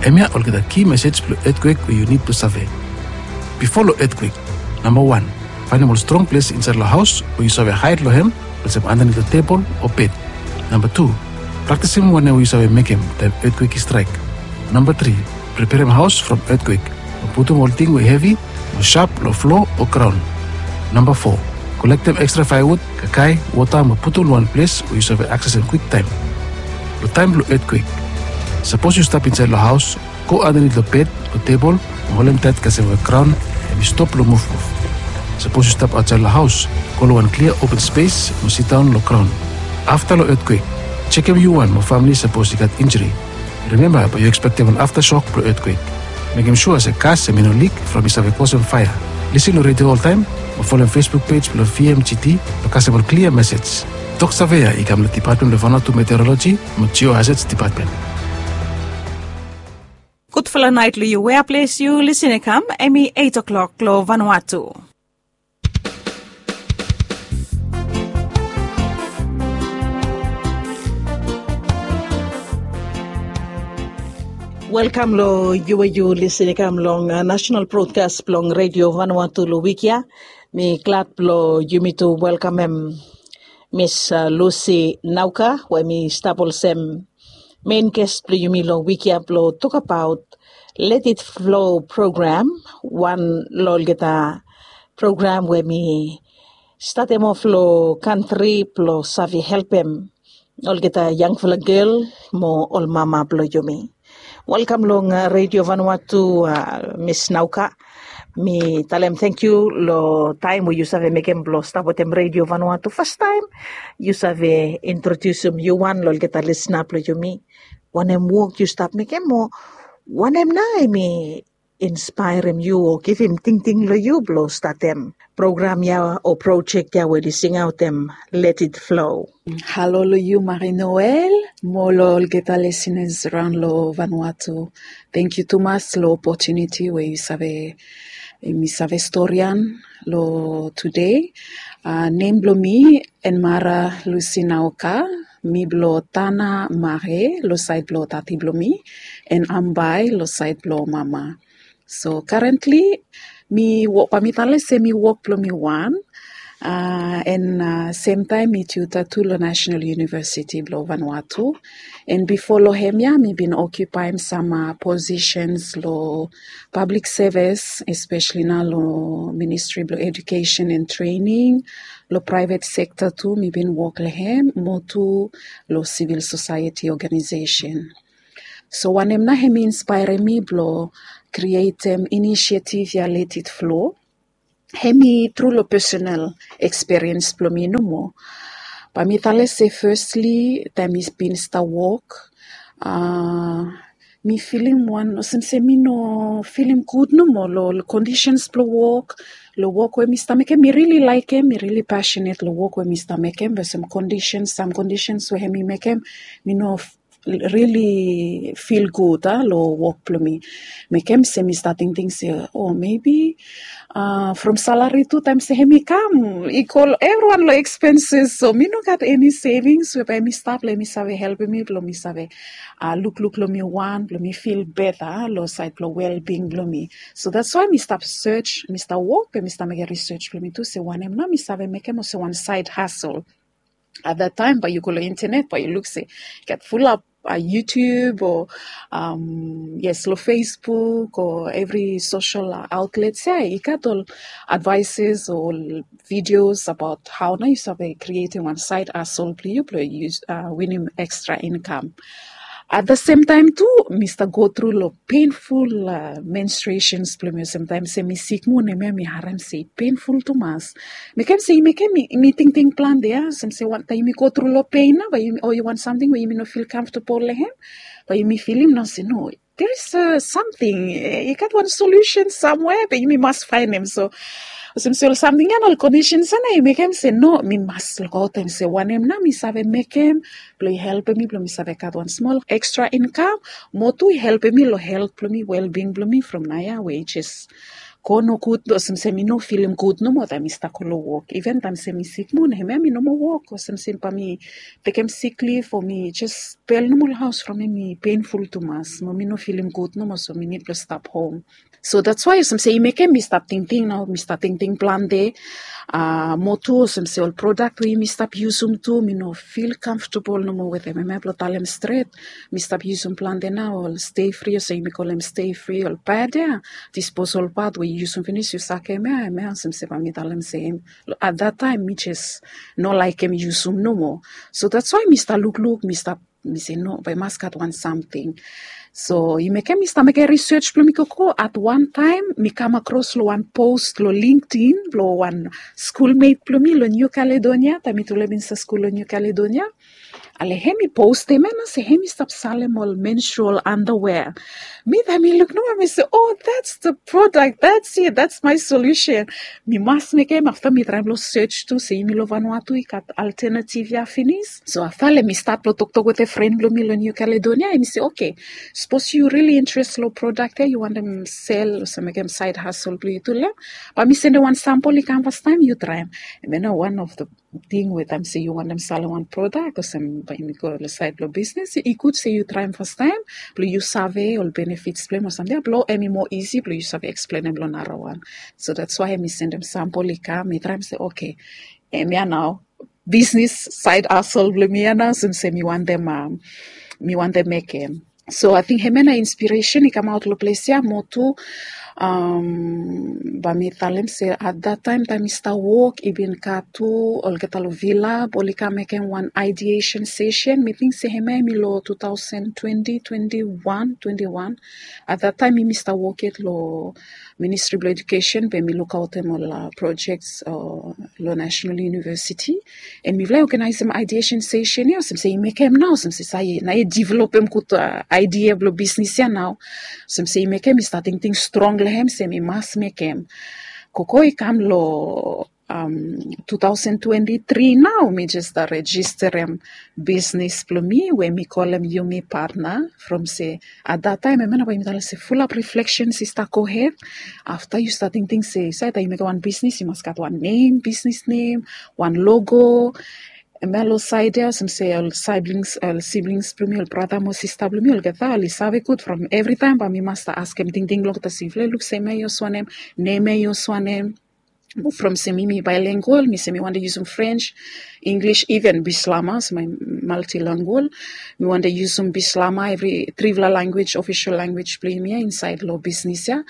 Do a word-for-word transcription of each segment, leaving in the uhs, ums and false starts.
Hemia olgeta ki mesej blong etkwek we yu nid blong save. Bifo long etkwek, namba wan, faenem ol strong ples insaed long haos we yu save haed long hem, olsem andanit long tebol o bed. Namba tu, praktisim wanem we yu save mekem taem etkwek i straek. Namba tri, preperem haos from etkwek, mo putum ol ting we hevi o sap long flo o graon. Namba fo, kolektem ekstra faewud, kakae, wota mo putum long wan ples we yu save aksesem kwiktaem. Long taem blong etkwek, sapos yu stap insaed long haos, go andanit long bed o tebol mo holem taet kasem we graon hemi stop long muvmuv. Sapos yu stap aotsaed long haos, go long wan klia open spes mo sidaon long graon. Afta long etkwek, jekem yu wan mo famle sapos i gat injri. Rimemba bae yu ekspektem wan aftasok blong etkwek. Mekem sua se gas hemi no lik from i save kosem faea. Lisin long redio oltaem o folem Facebook pej blong V M G T blong kasem ol klia mesej. Tok save ya i kam long Dipatmen blong Vanuatu Meteoroloji mo Geohazards Dipatmen. Gudfala naet long yu. Wea ples yu lisin i kam, hemi eit o'klok long Vanuatu. Welkam long yu we yu lisin i kam long, uh, national broadcast blong Radio Vanuatu long wik ya. Mi glad blong yumi tu welkamem Miss, uh, Lucy Nauka, we mi stap olsem main guest blong yumi long wik ya blong tokbaot Let It Flow program, wan long olgeta program we mi statem of long kantri blong save helpem olgeta yangfala gel mo ol mama blong yumi. Welkam long, uh, Radio Vanuatu, uh, Miss Nauka. Mi talem tangkiu long taem we yu save mekem blong stap wetem Radio Vanuatu fastaem. Yu save introdiusim yu wan long olgeta lisna blong yumi. Wanem wok yu stap mekem mo wanem nao hemi inspaerem yu o givim tingting long yu blong statem program ya o projek ya we oli singaotem Let It Flow? Halo long yu, Marie Noelle, mo long olgeta lisiners raon long Vanuatu. Tangkiu tumas long opotuniti we yu save, mi save storian long tude. Uh, nem blong mi Enmara Lucy Nauka, mi blong Tanah Mare long saed blong tati blong mi, and Ambae long saed blong mama. So currently mi wok, bae mi talem se mi wok blong mi wan, uh, and, uh, semtaem mi tutor tu long National University blong Vanuatu. And bifo long hemia mi bin okipaem sam, uh, positions long public service, especially nao long Ministry blong Education and Training. Long private sector tu mi bin wok long hem, mo tu long civil society organization. So wanem nao hemi inspaerem mi blong krietem inisiativ ya Let It Flow, hemi tru long personal ekspiriens blong mi nomo. Bae mi talem se firstly, taem mi bin stap wok, uh, mi filim wan olsem se mi no filim gud nomo long, long kondisens blong wok, long wok we mi stap mekem. Mi rili laekem, mi rili passionate long wok we mi stap mekem, be olsem kondisens, sam kondisens we hemi mekem mi no rili fil gud, a, long wok blong mi. Mekem se mi stap tingting se, o, maybe, a, from salari tu taem se hemi kam, i go evriwan long expenses. So mi no gat eni savings we bae mi stap long hemi save helpem mi blong mi save, a, lukluk long mi wan, blong mi fil beta long saed blong wellbeing blong mi. So that's why mi stap search, mi stap wok, be mi stap mekem research blong mi tu se wanem nao mi save mekem olsem wan side hustle. At that time bae yu go long internet, bae yu luk se gat fulap, a, YouTube o, um, yes, long Facebook o evri social, a, outlets ya, i gat ol advices o videos abaot hao nao yu save krietem wan side hustle blong yu, blong yu, a, winim extra income. At the same time tu, mi stap go tru long painful, a, menstruations blong mi olsem taem se mi sik moa, hemia mi harem se i painful tumas. Mekem se i mekem mi, mi tingting plante, a, olsem se wantaem yumi go tru long pain nao, bae yumi, o yu wan samting we yumi no fil comfortable long hem, bae yumi filim nao se no, there is, a, something, e, i gat wan solution somewhere, be yumi mas faenem. So olsem se ol samting ya, ol kondisens ya nao i mekem se no, mi mas lukaotem se wanem nao mi save mekem blong i helpem mi blong mi save gat wan smol extra income, mo tu i helpem mi long helt blong mi, wellbeing blong mi from naoia we i jes go nogud, olsem se mi no filim gud nomo taem mi stap go long wok. Even taem se mi sik moa, hemia mi no moa wok, olsem se bae mi tekem sick leave o mi jes bel nomo long haos from hemi painful tumas, mo mi no filim gud nomo, so mi nid blong stap hom. So that's why olsem se i mekem mi stap tingting nao, mi stap tingting plante. A, moa tu olsem se ol prodak we yumi stap yusum tu, mi no fil comfortable nomo wetem. Hemia blong talem stret, mi stap yusum plante nao ol Stayfree, olsem yumi kolem Stayfree, ol pad ya, disposal pad we yu yusum finis yu sakem ya, hemia olsem se bae mi talem se hem, at that taem mi jes no laekem yusum nomo. So that's why mi stap lukluk, mi stap, mi se no, bae i mas gat wan samting. So i mekem mi stap mekem research blong mi gogo. At wan taem mi kam akros long wan post long LinkedIn blong wan skulmet blong mi long New Caledonia, taem mitufala bin stap skul long New Caledonia. Ale hem i postem ya nao se hem i stap salem ol menstrual underwear. Mi taem mi luk nomo, mi se, "Oh, that's the product, that's it, that's my solution." Mi mas mekem. Afta mi traem blong search tu se yumi long Vanuatu i gat alternative ya finis. So afta le mi stat blong toktok wetem fren blong mi long New Caledonia, hemi se, "Okay, sapos yu really interest long prodak ya, yu wantem sel, olsem mekem side hustle blong yu tu, le bae mi sendem wan sample i kam fastaem, yu traem." Hemia nao wan of the ting we taem se yu wantem salem wan prodak, olsem bae yumi go long saed blong bisnis, i gud se yu traem fastaem blong yu save ol benefits blong hem o samting ya, blong hemi moa isi blong yu save eksplenem long narawan. So that's why hemi sendem sample i kam, mi traem se, "Okay, hemia nao bisnis side hustle blong mi ya nao, olsem se mi wantem, a, mi wantem mekem." So ating hemia nao inspiresen i kamaot long ples ya. Moa tu, am, bae mi talem se at that taem, taem mi stap wok, i bin gat tu olgeta long Vila, bae oli kam mekem wan ideation session. Mi ting se hemia hemi long two thousand twenty, twenty-one, twenty-one. At that taem mi stap wok yet long Ministry blong Education, be mi lukaotem ol, a, projects, a, long National University. And mifala i oganaesem ideation session ya, olsem se i mekem nao, olsem se sae nao i developem gud, a, idea blong bisnis ya nao. Olsem se i mekem mi stap tingting strong long hem se mi mas mekem. Gogo i kam long, am, two thousand twenty-three nao, mi jes stap rejisterem bisnis blong mi we mi kolem Yumi Partner. From se at that taem, hemia nao bae mi talem se fulap reflections i stap gohed. Afta yu stap tingting se sae taem yu mekem wan bisnis, yu mas gat wan nem, bisnis nem, wan logo. Hemia long saed ya, olsem se ol siblings, ol siblings blong mi, ol brata mo sista blong mi, olgeta oli save gud from evritaem bae mi mas stap askem tingting blong olgeta se, "Mifala i luk se hemia i yus wanem, nem ya i yus wanem?" From se mi, mi bilingual, mi se mi wantem yusum French, English, even Bislama, olsem mi multilingual. Mi wantem yusum Bislama, evri trifala language, official language blong yumi ya insaed long bisnis ya.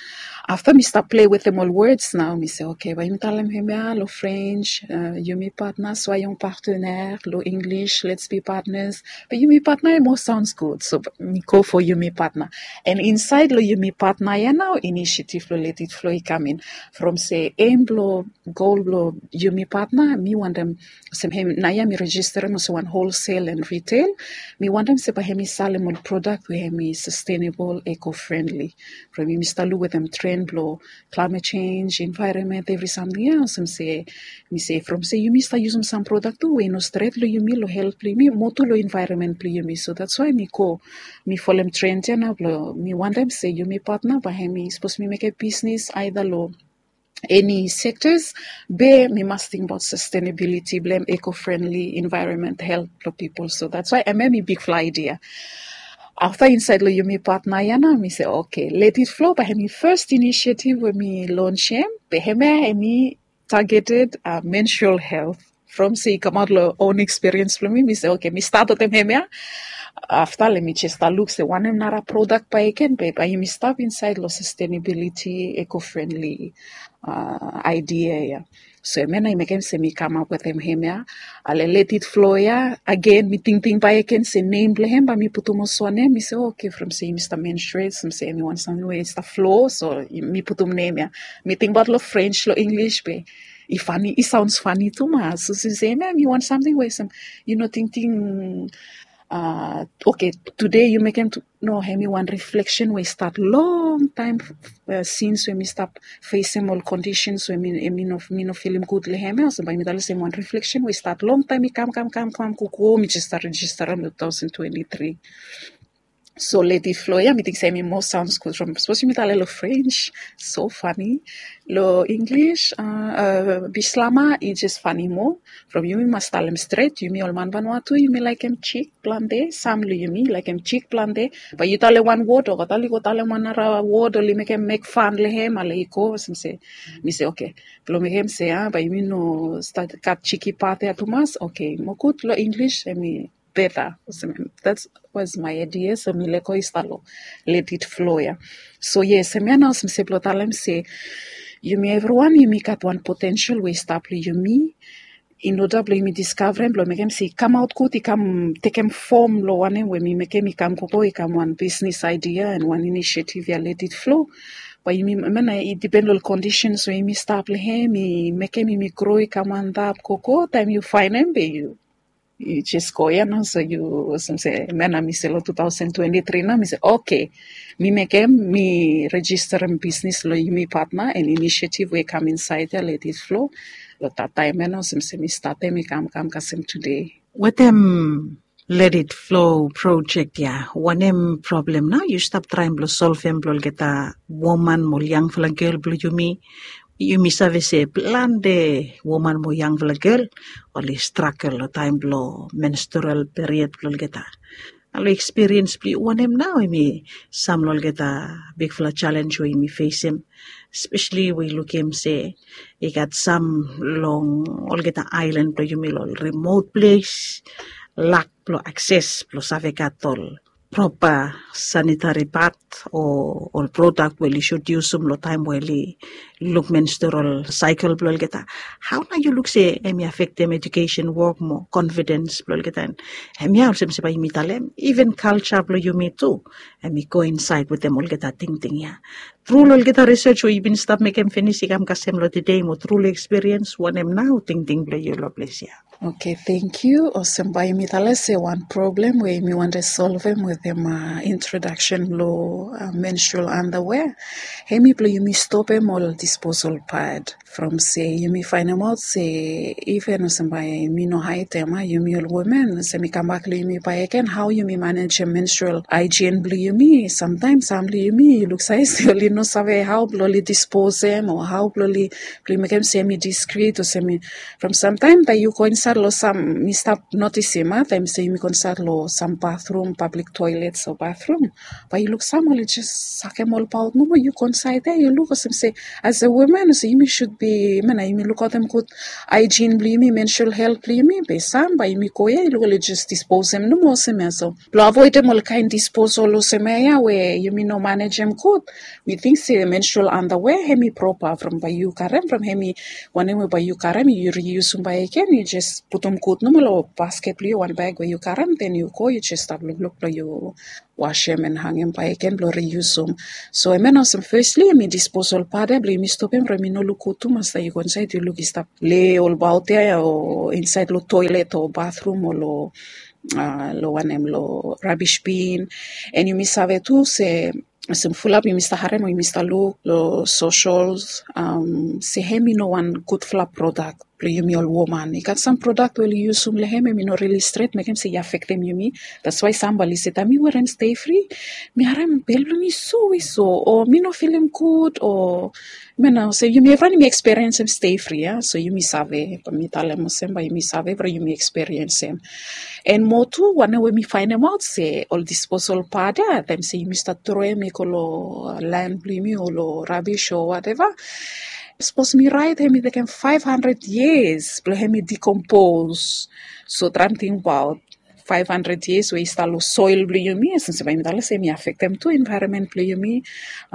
Afta mi stap plei wetem ol words nao, mi se, "Okay, bae yumi talem hemia long French, a, Yumi Partner, soyons partenaires, long English, let's be partners." Be Yumi Partner i moa sounds gud, so mi go for Yumi Partner. And insaed long Yumi Partner ya nao initiative blong Let It Flow i kam in. From se aim blong gol blong Yumi Partner, mi wantem, olsem hem, naoia mi rejisterem olsem wan wholesale and retail. Mi wantem se bae hemi salem ol prodak we hemi sustainable, eco-friendly. From yumi stap luk wetem tren blong climate change, environment, evri samting ya, olsem se, mi se from se yumi stap yusum sam prodak tu we i no stret long yumi, long helt blong yumi, mo tu long environment blong yumi. So that's why mi go, mi folem trend ya nao blong mi wantem se Yumi Partner bae hemi, sapos mi mekem bisnis aeda long eni sectors, be mi mas tingbaot sustainability blong hem, eco-friendly, environment, helt blong pipol. So that's why hemia hemi bigfala idea. Afta insaed long Yumi Partner ya nao, mi se, "Okay, Let It Flow bae hemi first initiative we mi launchem, be hemia hemi targeted, a, menstrual health." From se i kamaot long own experience blong mi, mi se, "Okay, mi stat wetem hemia." Afta le mi jes stap luk se wanem nara prodak bae i ken, be bae yumi stap insaed long sustainability, eco-friendly, a, idea ya. So hemia nao i mekem se mi kamap wetem hemia. Ale Let It Flow ya, agen mi tingting bakegen se nem blong hem bae mi putum olsem wanem, mi se, "Okay, from se yumi stap menstruate, from se hemi wan samting we i stap flow, so mi putum nem ya." Mi tingbaot long French, long English be i fani, i sounds fani tumas. So se hemia hemi wan samting we olsem yu no tingting, a, okay, tede yu mekem tu, no, hemi wan reflection we i stat longtaem, a, since we mi stap fesem ol conditions we mi, mi no, mi no filim gud long hem ya. Olsem bae mi talem se hemi wan reflection we i stat longtaem, i kam, kam, kam, kam, go, go, mi jes stap rejisterem long two thousand twenty-three. So leti flo ya mi ting se em i moa sauns gud from sapos yumi talem long french, so fani. Long english, bislama i jes fani moa. From yumi mas talem stret yumi ol man vanua tu yumi laikim chik plante sam long yumi laikim chik plante. Bai yu talem wan wod o gatali go talem wan nara wod oli mekem mek fan long hem ale i go olsem se mi se oke. Blong mekem se a bai yumi no stat gat chiki pat ya tumas oke mo gud long english em i beta. Olsem em that was my idea so mi lego i stalo let it flow ya. So yes em ya na olsem se blong talem se yumi evriwan yumi gat wan potensel we i stap long yumi. In order blong yumi diskavarem blong mekem se i kamaot gud i kam tekem fom long wanem we mi mekem i kam gogo i kam wan bisnis aidia en wan inisiativ ya let it flow. Bai yumi mena i dipen long kondisens we yumi stap long hem i mekem yumi gro i kam antap gogo taem yu faenem be yu jes go ya na so yu olsem se mena mi se long tu taosen twenti tri na mi se oke. Mi mekem mi rejisterem bisnis long yumi patna en inisiativ we i kam insaed ya let it flow. Long tataem ya na olsem se mi statem i kam kam kasem tude. Wetem let it flow projek ya wanem problem nao yu stap traem blong solvem blong olgeta woman mo ol yangfala gel blong yumi? Yumi save se plante woman mo yangfala gel oli stragel long taem blong menstrual period blong olgeta. Na long ekspiriens blong yu wanem nao em i sam long olgeta bigfala jalenj we yumi fesem, espeseli we i lukim se i gat sam long olgeta aelan blong yumi long ol rimot ples, lak blong akses blong save gat ol propa sanitari pat o ol prodak we oli sud yusum long taem we oli luk menstrual saekel blong olgeta. Hao nao yu luk se em i afektem ejukesen wok mo konfidens blong olgeta? Em ya olsem se bai yumi talem iven kalja blong yumi tu em i go insaed wetem olgeta tingting ya. Tru long olgeta risej we yu bin stap mekem finis i kam kasem long tede mo tru long ekspiriens wanem nao tingting blong yu long ples ya? Oke, tengkiu. Olsem bai yumi talem se wan problem we yumi wantem solvem wetem introdaksen blong menstrual andawea, hemi blong yumi stopem ol disposal pad. From se yumi faenemaot se iven olsem bai yumi no haetem a yumi ol women olsem i kambak long yumi baek gen hao yumi manejem menstrual aejen blong yumi samtaem sam blong yumi yu luk save se oli no save hao blong oli disposem o hao blong oli blong mekem se em i diskrit olsem i from samtaem taem yu go insaed long sam mi stap notisim a taem se yumi go insaed long sam bathrum pablik toelets o bathrum, bai yu luk sam oli jes sakem olbaot nomo yu go insaed ya yu luk olsem se as a woman olsem yumi sud bi mena yumi lukaotem gud aejen blong yumi menstrual helt blong yumi be sam bai yumi go ya yu luk oli jes disposem nomo olsem ya so blong avoedem ol kaen disposal olsem ya ya we yumi no manejem gud. Mi ting se menstrual andawea hemi propa from bai yu karem from hemi wanem we bai yu karem yu riusum baek gen yu jes putum gud nomo long basket blong yu wan baek we yu karem den yu go yu jes stap lukluk blong yu wasem en hangem baek gen blong riusum. So em ya na olsem fesli em i disposal pat ya blong yumi stopem from i no luk gud tumas taem yu go insaed yu luk i stap le olbaot ya o insaed long toelet o bathrum o long long wanem long rabis bin. En yumi save tu se olsem fulap yumi stap harem o yumi stap luk long sosol se hem i no wan gudfala prodak blong yumi ol woman i gat sam prodak we oli yusum long hem em i no rili stret mekem se i afektem yumi. That's wai sam bai oli se taem mi werem stefri mi harem bel blong mi so we so o mi no filim gud o mena olsem yumi evriwan yumi eksperiensem stefri ya so yumi save bai mi talem olsem bai yumi save bro yumi eksperiensem. En moa tu wanem we mi faenemaot se ol disposal pad ya taem se yumi stap troem i go long lan blong yumi o long rabis o wateva. Sapos mi raet hem i tekem faef handred yias blong hem i dikompos. So traem tingbaot faef handred yias we i stap long soel blong yumi olsem se bai mi talem se mi afektem tu envaeronmen blong yumi.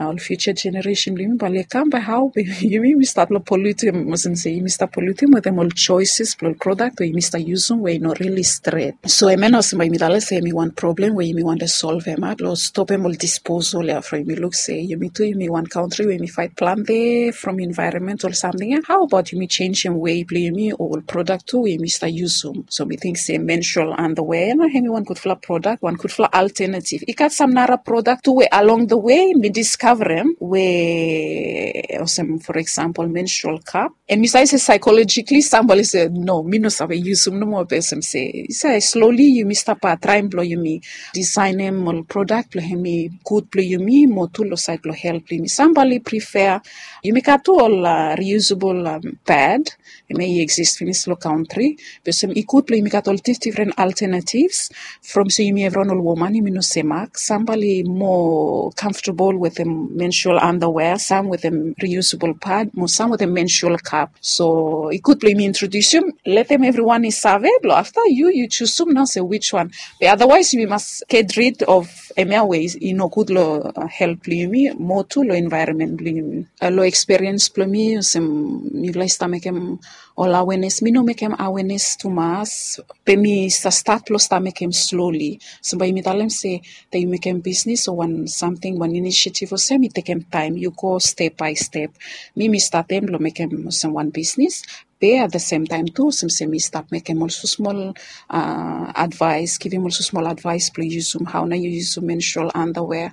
Ol fiuja jeneresen blong yumi bai oli kam bai hao be yumi yumi stap long polutim olsem se yumi stap polutim wetem ol joeses blong ol prodak we yumi stap yusum we i no rili stret. So em ya na olsem bai yumi talem se em i wan problem we yumi wantem solvem a blong stopem ol disposal ya from yumi luk se yumi tu yumi wan kantri we yumi faet plante from envaeronment ol samting ya hao abaot yumi jenjem wei blong yumi o ol prodak tu we yumi stap yusum so mi ting se menstrual andawea Ena hemi wan gudfala prodak, wan gudfala alternative. I gat sam nara prodak tu we along the way mi discoverem we olsem, for example, menstrual cup. And mi save se psychologically somebody se no, mi no save yusum nomo, be olsem se, se slowly yumi stap traem blong yumi designem ol prodak blong hemi gud blong yumi, mo tu long sait blong health blong yumi. Somebody prefer, yumi gat tu ol uh, reusable um, pad, hemia i exist finis long country. Be olsem i gud blong yumi gat ol dif- different alternatives. From se yumi evriwan ol woman yumi no semak. Somebody more comfortable with a menstrual underwear, some with a reusable pad, mo some with a menstrual cup. So i gud blong yumi introdusium, letem evriwan i save blong afta yu yu chusum nao se which one. Be otherwise yumi mas get rid of hemia we i no gud long uh, health blong yumi, mo tu long environment blong yumi. Uh, long experience blong mi olsem mifala i stap mekem ol awareness, mi no mekem awareness tumas. Be mi sa stat blong stap mekem slowly. So bae yumi talem se taem yu mekem bisnis o wan samting, wan initiative olsem i tekem taem, yu go step by step. Mi mi statem blong mekem olsem wan bisnis. Be at the same time tu olsem se mi stap mekem ol susmol uh, advice, givim ol susmol advice blong yusum, hao nao yu yusum menstrual underwear,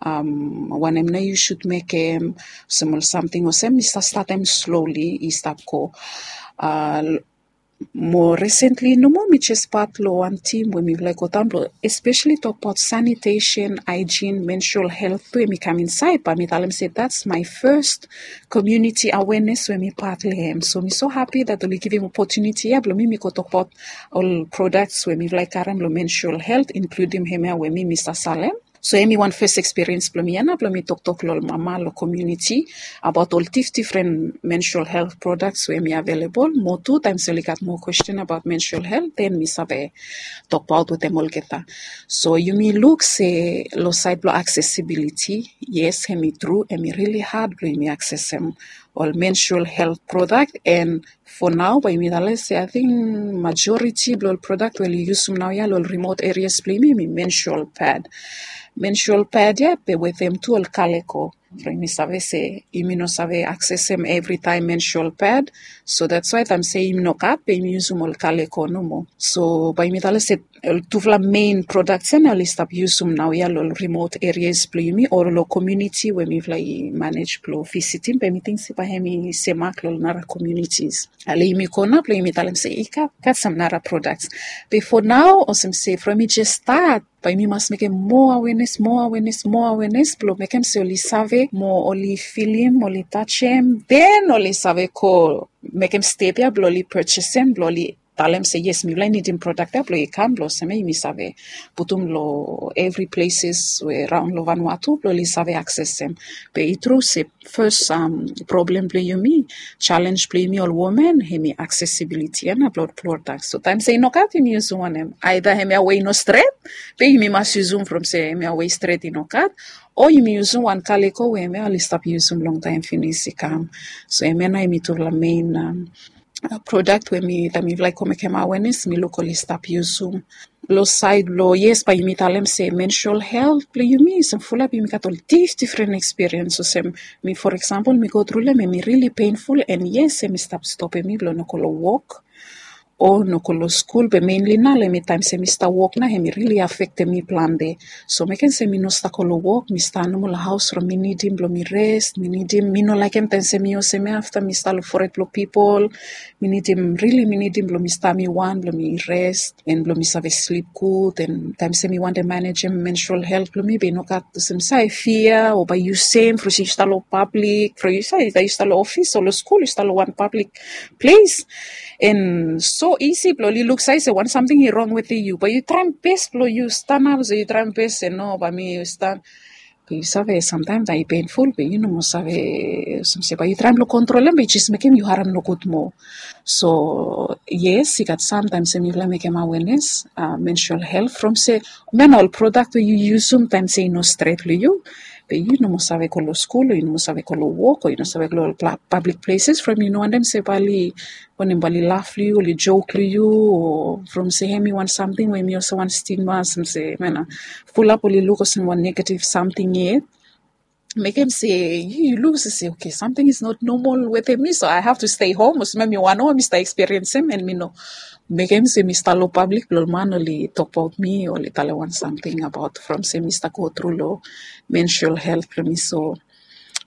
um, wanem nao yu sud mekem, olsem ol samting olsem mi sa statem slowly i stap go. Uh, mo recently nomo mi jes pat long wan tim we mifala i go daon blong especially tokbaot sanitation, hygiene, menstrual health tu hemi kam insaed, bae mi talem se that's my first community awareness we mi pat long hem. So mi so happy that oli givim opportunity ia blong mi mi go tokbaot ol products we mifala i karem long menstrual health, including hemia we mi mi sa salem. So hemi wan first experience blong mi ia nao blong mi toktok long ol mama long community abaot ol dif- different menstrual health products we hemi available. Mo tu taem se oli gat moa question abaot menstrual health, then mi save tokbaot wetem olgeta. So yumi luk se long saed blong accessibility, yes, hemi tru, hemi really hard blong yumi accessem ol menstrual health product. And for now bae yumi talem se ating majority blong ol product we oli yusum naoia long ol remote areas blong yumi hemi menstrual pad. Menstrual pad ia be wetem tu ol kaleko. From yumi save se yumi no save accessem evri taem menstrual pad. So that's why taem se yumi no gat be yumi yusum ol kaleko nomo. So bae yumi talem se ol tufala main products ia nao oli stap yusum naoia long ol remote areas blong yumi o long community we mifala i manage blong visitim, be mi ting se bae hemi semak long ol nara communities. Ale yumi go nao blong yumi talem se i gat gat sam nara products. Be for now olsem se from mi jes stat, bae yumi mas mekem moa awareness, moa awareness, moa awareness blong mekem se oli save mo oli filim, oli tajem, then oli save go mekem step ia blong oli purchasem, blong oli talem se yes, mifala i nidim product ia blong i kam blong olsem ia yumi save putum long evri places we raon long Vanuatu blong oli save accessem. Be i tru se first um, problem blong yumi, challenge blong yumi ol women hemi accessibility ia nao blong ol product. So taem se i no gat yumi yusum wanem, either hemia we i no stret, be yumi mas yusum from se hemia we i stret i no gat, o yumi yusum wan kaleko we hemia oli stap yusum longtaem finis i kam. So hemia nao hemi tufala main um, uh, product we mi taem mifala i go mekem awareness mi luk oli stap yusum. Long saed blong yes bae yumi talem se menstrual health blong yumi olsem fulap yumi gat ol dif- different experience. Olsem mi for example mi go tru long hem, hemi really painful, and yes hemi stap stopem mi blong no go long wok o no go long skul. Be mainly nao long hemi taem se mi stap wok nao hemi really affectem mi plante. So mekem se mi no stap go long wok, mi stap nomo long haos from mi nidim blong mi rest, mi nidim, mi no laekem taem se mi olsem ia afta mi stap long fored blong pipol. Mi nidim, really mi nidim blong mi stap mi wan blong mi rest and blong mi save slip gud. And taem se mi wantem manejem menstrual health blong mi be i no gat olsem se i fia o bae yu sem from se yu stap long public, from yu save bae yu stap long ofis o long skul, yu stap long wan public ples. And so isi blong oli luksave se wan samting i rong wetem yu, bae yu traem bes blong yu stanap, so yu traem bes se no, bae mi yu stan Yu save, samtaem taem i penful be yu no moa save olsem se bae yu traem blong kontrolem be i jes mekem yu harem nogud moa. So yes, i gat samtaem se mifala mekem awenes, menstrual helt, from se hemia na ol prodak we yu yusum taem se i no stret long yu, be yu no moa save go long skul o yu no moa save go long wok o yu no save go long ol pablik pleses from yu no wantem se bae oli wanem, bae oli laf long yu, oli jok long yu, o from se hemi wan samting we hemi olsem wan stigma, olsem se hemia na fulap oli luk olsem wan negatif samting yet. mekem se yu luk se, okay, something is not normal wetem mi, so I have to stay home. Olsem mi wan o mi stap experiensim, and mi no mekem se mi stap long pablik blong ol man oli tokbaot mi o oli talem wan samting abaot from se mi stap go tru long menstrual health blong mi. So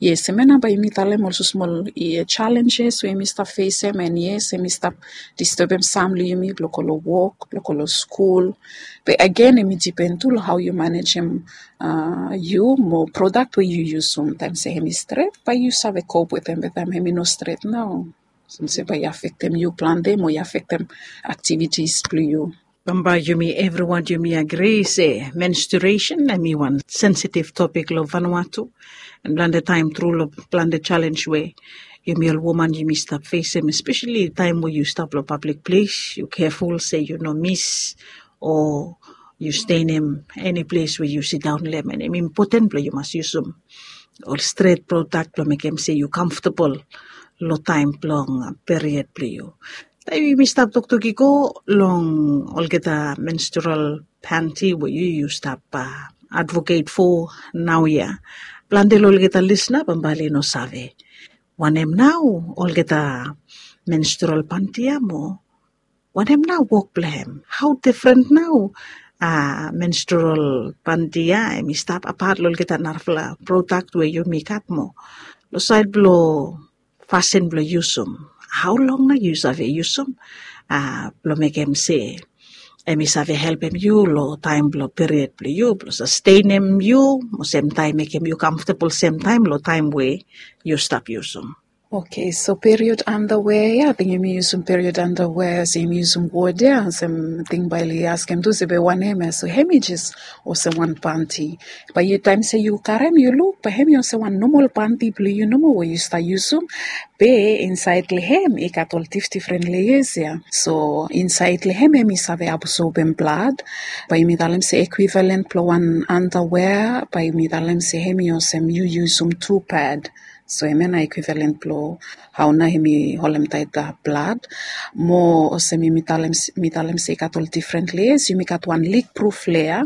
yes, hemia nao bae yumi talem olsem smol challenges we yumi stap fesem, and yes, hemi stap distebem sam long yumi blong go long wok, blong go long skul. Be agen hemi dipen tu long hao yu manejem yu mo prodak we yu yusum. Taem se hemi stret bae yu save kop wetem, be taem hemi no stret nao, olsem se bae i afektem yu plante mo i afektem aktivitis blong yu. Bambae yumi evriwan yumi agri se menstruation hemi wan sensitive topik long Vanuatu. And plante taem tru long plante chalens we yumi ol woman yumi stap fesem, espeseli taem we yu stap long pablik ples, yu keful se yu no mis o yu stenem eni ples we yu sidaon long hem. And hemi impoten blong yu mas yusum ol stret prodak blong mekem se yu kamftabol long taem blong period blong yu. Taem yumi stap toktok i go long olgeta menstrual panty we yu yu stap advocate for naoia, plante long olgeta lisna bambae oli no save wanem nao olgeta menstrual panty ia mo wanem nao wok blong hem, hao difren nao menstrual panty ia hemi stap apat long olgeta narafala prodak we yumi gat mo long saed blong fasin blong yusum. Hao long nao yu save yusum blong mekem se hemi save helpem yu long taem blong period blong yu blong sastenem yu mo semtaem mekem yu kamftabol semtaem long taem we yu stap yusum. Okay, so period underwear ia, ating yumi yusum period underwear, olsem yumi yusum wod ia, olsem ating bae oli askem tu se be wanem ia. So hemi jes olsem wan panty. Bae yu taem se yu karem yu luk bae hemi olsem wan nomal panty blong yu nomo we yu stap yusum. Be insaed long hem i gat ol difdifren layers ia. So insaed long hem hemi save absorbem blad. Bae yumi talem se equivalent blong wan underwear, bae yumi talem se hemi olsem yu yusum tu pad. So hemia nao equivalent blong hao nao hemi holem taet blad. Mo olsem yumi talem se i gat ol difren layers, yumi gat wan leak proof layer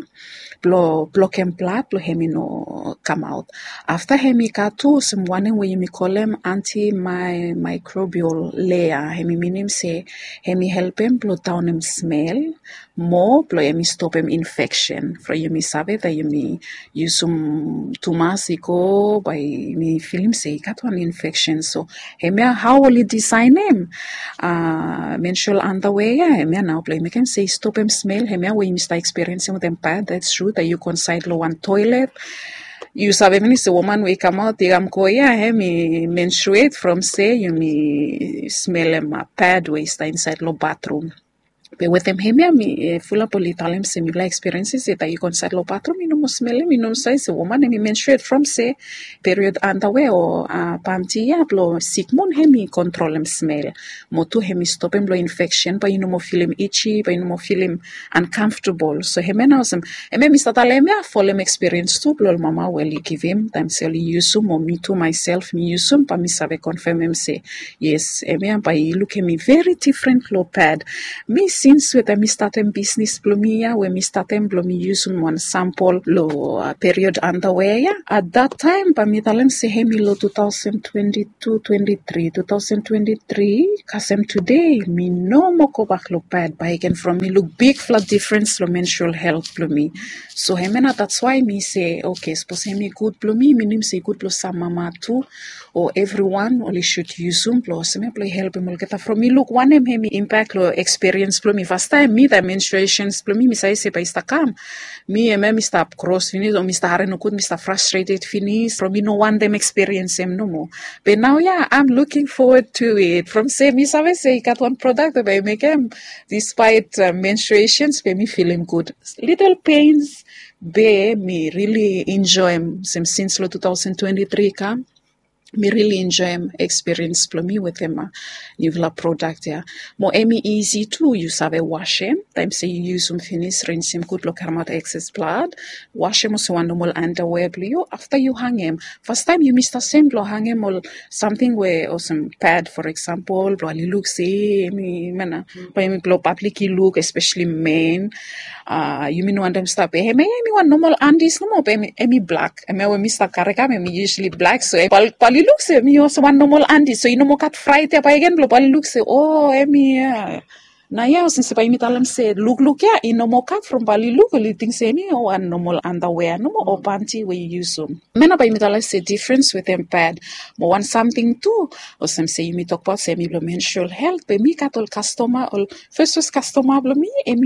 blong blokem blad blong hemi no kamaot. Afta hemi gat tu olsem wanem we yumi kolem antimicrobial layer, hemi minim se hemi helpem blong daonem smel mo blong hemi stopem infeksen from yumi save taem yumi yusum tumas i go bae yumi filim se i gat wan infeksen. So hemia hao oli disaenem menstrual underwear ia, hemia nao blong mekem se i stopem smel, hemia we yumi stap eksperiensim wetem pad. That's true taem yu go insaed long wan toelet, yu save finis se woman we i kamaot i kam go ia hemi menstruate from se yumi smelem pad we i stap insaed long batrum. Be wetem hemia mi fulap oli talem se mifala eksperiensim se taem yu go insaed long batrum i no moa smelem, i no save se woman hemi menstruate from se period underwear o panty ia blong sikmun hemi kontrolem smel mo tu hemi stopem long infeksen, bae yu no moa filim itchy, bae yu no moa filim uncomfortable. So hemia nao olsem hemia mi stap talem ia folem eksperiens tu blong ol mama we oli givim taem se oli yusum o mi tu myself mi yusum bae mi save konfemem se yes, hemia bae i lukem mi veri difren long pad. Mi sins we taem mi statem bisnis blong mi ia we mi statem blong mi yusum wan sampol long period underwear ia, at that taem bae mi talem se hemi long two thousand twenty-two twenty-three, two thousand twenty-three kasem tude mi no moa gobak long pad bakegen from mi luk bigfala difrens long menstrual health blong mi. So hemia nao that's why mi se okay, sapos hemi gud blong mi, minim se i gud blong sam mama tu o evriwan oli sud yusum blong olsem ia blong i helpem olgeta from mi luk wanem hemi impak long eksperiens blong mi. Fastaem mi taem menstruations blong mi mi save se bae i stap kam, mi hemia mi stap kros finis o mi stap harem nogud, mi stap frustrated finis from mi no wantem eksperiensim nomo. Be naoia I'm looking forward to it from se mi save se i gat wan prodak we bae i mekem despite menstruations be mi filim gud. Little pains be mi really enjoem olsem sins long two thousand twenty-three i kam. Mi rili enjoem ekspiriens blong mi wetem niufala prodak ya. Mo em i isi tu yu save wasem taem se yu yusum finis, rinsim gud blong karemaot ekses blad. Wasem olsem wan nomol andawea blong yu afta yu hangem. Fastaem yumi stap sem blong hangem ol samting we olsem pad, for example, blong oli luk se em i mana, blong pablik i luk, espeseli men. Yumi no wantem stap be hemia em i wan nomol andis nomo be em i blak. Hemia we mi stap karekam em i yusali blak, so bae oli luk se em i olsem wan nomol andis, so i no moa gat fraet ya bae gen blong bae oli luk se o em i ya. Naoia olsem se bae yumi talem se lukluk ya i no moa gat from bae oli luk, oli ting se em i wan nomol andawea nomo o panti we yu yusum. Hemia nao bae yumi talem se difrens wetem pad. Mo wan samting tu, olsem se yumi tokbaot se em i blong menstrual helt, be mi gat ol kastoma, ol fes fes kastoma blong mi, em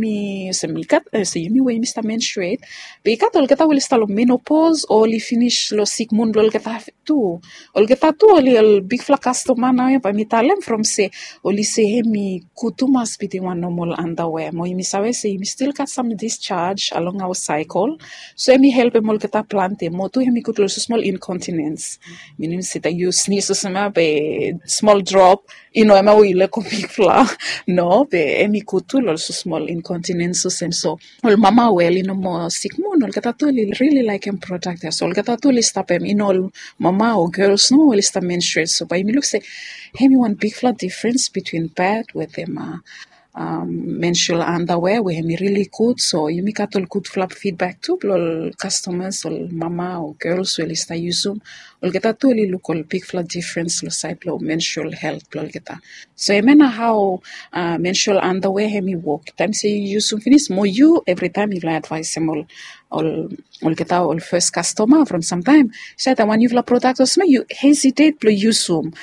i olsem i gat olsem yumi we yumi stap menstruet, be i gat olgeta we oli stap long menopos o oli finis long sikmun blong olgeta tu. Olgeta tu oli ol bigfala kastoma naoia bae mi talem from se oli se em i gud tumas bitim wan nomol andawea. Mo yumi save se yumi stil gat sam disjaj along aoa saekel. So em i helpem olgeta plante. Mo tu em i gud long olsem smol inkontinens. Minim se taem yu snis olsem ya be smol drop, i no hemia we yu lego bigfala. No, be em i gud tu long olsem smol inkontinens olsem. So ol mama we oli no moa sikmun, olgeta tu oli rili laekem prodak ya. So olgeta tu oli stapem, i no ol mama o gels nomo we oli stap menstruet. So bae yumi luk se em i wan bigfala difrens bitwin pad wetem menstrual andawea we em i rili gud. So yumi gat ol gudfala fidbak tu blong ol kastomas, ol mama o gels we oli stap yusum. Olgeta tu oli luk ol bigfala difrens long saed blong menstrual helt blong olgeta. So hemia nao hao menstrual andawea em i wok. Taem se yu yusum finis, mo yu evritaem yu laek advaesem ol, olgeta ol fes kastoma from samtaem se taem wan niufala prodak olsem ya yu hesitet blong yusum.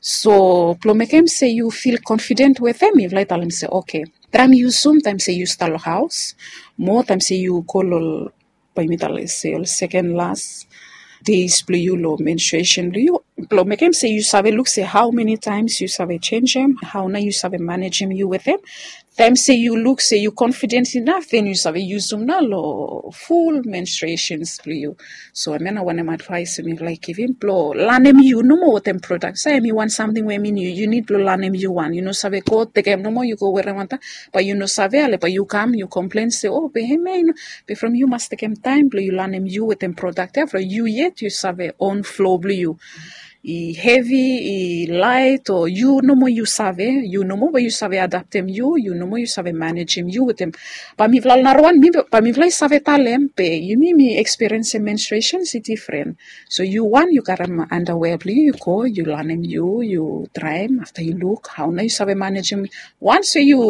So blong mekem se yu fil konfiden wetem, yufala i talem se oke, taem yu yusum taem se yu stap long haos, mo taem se yu go long, bae mi talem se ol seken las deis blong yu long menstruesen blong yu, blong mekem se yu save luk se hao meni taems yu save jenjem, hao nao yu save manejem yu wetem. Taem se yu luk se yu konfiden inaf, den yu save yusum nao long ful menstruesens blong yu. So hemia nao wanem advaes we mi laek givim, blong lanem yu nomo wetem prodak ya. Em i wan samting we em i niu, yu nid blong lanem yu wan. Yu no save go tekem nomo yu go werem antap, bae yu no save, ale bae yu kam yu komplen se o be hemia i no, be from yu mas tekem taem blong yu lanem yu wetem prodak ya from yu yet yu save own flo blong yu. I hevi, i laet, o yu nomo yu save, yu nomo bae yu save adaptem yu, yu nomo yu save manejem yu wetem. Bae mifala ol narawan, bae mifala i save talem be yumi mi ekspiriensem menstruesens i difren. So yu wan yu karem andawea blong yu, yu go yu lanem yu, yu traem, afta yu luk hao nao yu save manejem. Wans we yu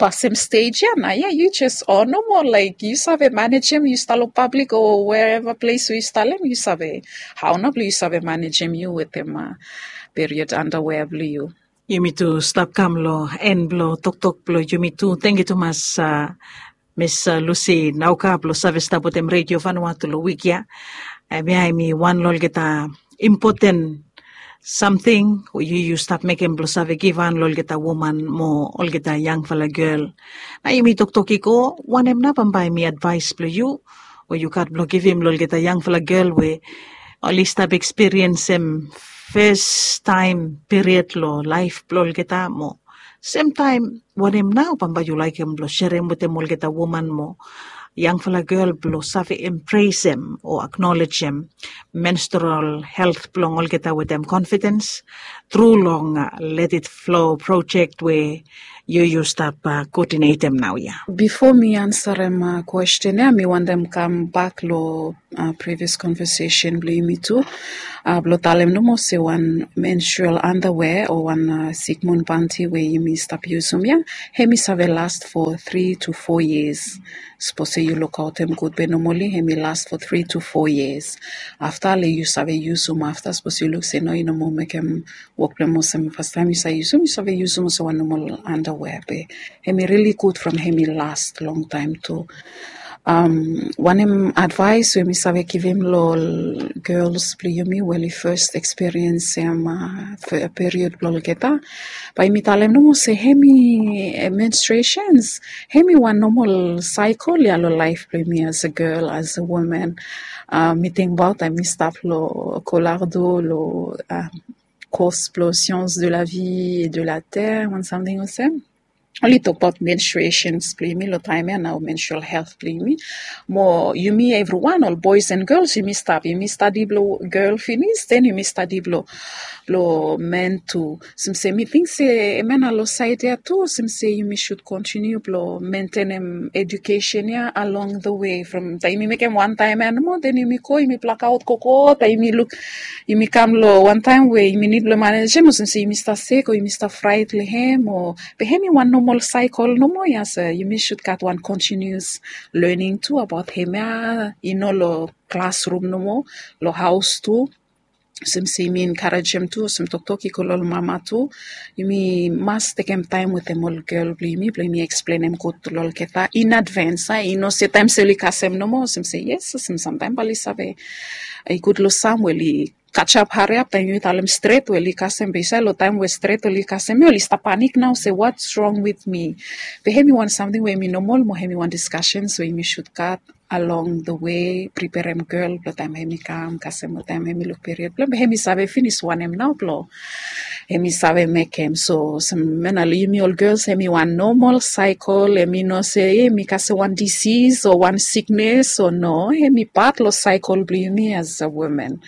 pasem stej ya, naoia yu jes o nomo, laek yu save manejem, yu stap long pablik o wereva ples we yu stap long, yu save hao nao blong yu save manejem yu wetem period andawea blong yu. Yumi tu stap kam long en blong toktok blong yumi tu. Tangkiu tumas Miss Lucy Nauka blong save stap wetem Redio Vanuatu long wik ya. Hemia em i wan long olgeta impoten samting we yu yu stap mekem blong save givhan long olgeta woman mo olgeta yangfala gel. Nao yumi toktok i go, wanem nao bambae em i advaes blong yu we yu gat blong givim long olgeta yangfala gel we oli stap ekspiriensem festaem period long laef blong olgeta mo semtaem wanem nao bambae yu laekem blong serem wetem olgeta woman mo yangfala gel blong save empresem o aknolejem menstrual helt blong olgeta wetem konfidens tru long Let It Flow projek we yu yu stap koodinetem naoia. Bifo mi ansarem kwesten ya, mi wantem kambak long previous konvesesen blong yumi tu, blong talem nomo se wan menstrual andawea o wan sikmun panti we yumi stap yusum ya, hem i save last for three to four years. Sapos se yu lukaotem gud be nomali hem i last for three to four years. Afta le yu save yusum afta, sapos yu luk se no, i no moa mekem wok blong hem olsem fastaem yu save yusum, yu save yusum olsem wan nomal andawea be hem i rili gud from hem i last longtaem tu. Wanem advaes we mi save givim long ol gels blong yumi we oli fes ekspiriensim period blong olgeta? Bae yumi talem nomo se hemi menstruations, hemi wan nomal saekol ya long laef blong yumi as a gel, as a woman. Mi tingbaot taem mi stap long kolardo long kos blong science de la vie et de la terre, wan samting olsem, oli tokbaot menstruations blong yumi long taem ya nao, menstrual health blong yumi. Mo yumi evriwan, ol boes and gels, yumi stap, yumi stadi blong gel finis, den yumi stadi blong blong men tu. Olsem se mi ting se hemia nao long saed ya tu, olsem se yumi sud kontiniu blong mentenem edukesen ya along the way, from taem yumi mekem wan taem ya nomo, den yumi go yumi blakaot gogo, taem yumi luk yumi kam long wan taem we yumi nid blong manejem, olsem se yumi stap sek o yumi stap fraet long hem o. Be hemi wan nomal saekol nomo ya se yumi sud gat wan kontinius lening tu abaot hemia, i no long klasrum nomo, long haos tu. Olsem se yumi enkarejem tu, olsem toktok i go long ol mama tu, yumi mas tekem taem wetem ol gel blong yumi blong yumi eksplenem gud tu long olgeta in advance. I no se taem se oli kasem nomo, olsem se yes, olsem samtaem bae oli save, i gud long sam we oli kajap hariap taem yumi talem stret we oli kasem, be i save long taem we stret oli kasem ya oli stap panik nao se what's wrong with me. Be hemi wan samting we hemi nomal mo hemi wan diskasens we yumi sud gat along the way, preperem gel blong taem hemi kam kasem o taem hemi luk period blong hem, be hemi save finis wanem nao blong hemi save mekem. So olsem hemia nao long yumi ol gels, hemi wan nomal saekol, hemi no se hemi kasem wan disis o wan siknes o no, hemi pat long saekol blong yumi as a woman.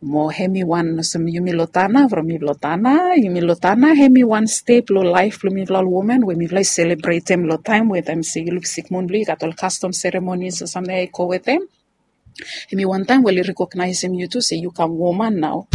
Mo hemi wan olsem yumi long Tanna, from yumi long Tanna, yumi long Tanna, hemi wan step long laef blong mifala ol woman we mifala i selebretem long taem we taem se yu luk sikmun blong yu, i gat ol kastom seremonis o samting ya i go wetem. Hemi wan taem we oli rekognaesem yu tu se yu kam woman nao.